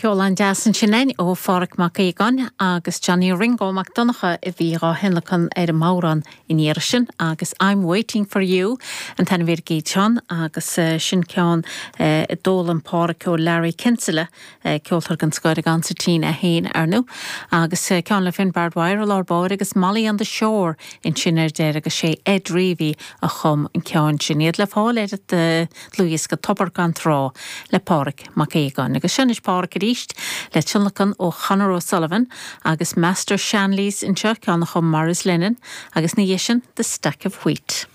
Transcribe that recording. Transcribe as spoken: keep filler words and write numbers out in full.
Ceol an-deas ansin ó Phádhraic Mac Aogáin agus Johnny Ringo Mac Donncha a bhí á thionlacan ar an mbodhrán in iar sin agus I'm waiting for you an t-ainm ar an gceann agus uh, sin ceann uh, a d'fhoghlaim Pádhraic ó Larry Kinsella uh, ceoltóir den scoth an concertina é féin ar ndóigh agus uh, ceann le Finbar Dwyer lár báire agus Molly on the Shore ansin ar deireadh agus sé Ed Reavy a chum an ceann sin iad le fáil ar an dlúthdhiosca Tobar gan Trá le Pádhraic Mac Aogáin agus sin Pádhraic arís le tionlacan ó Conor O'Sullivan agus Master Shanley's anseo ceann a chum Maurice Lennon agus ina dhiaidh sin The Stack of Wheat.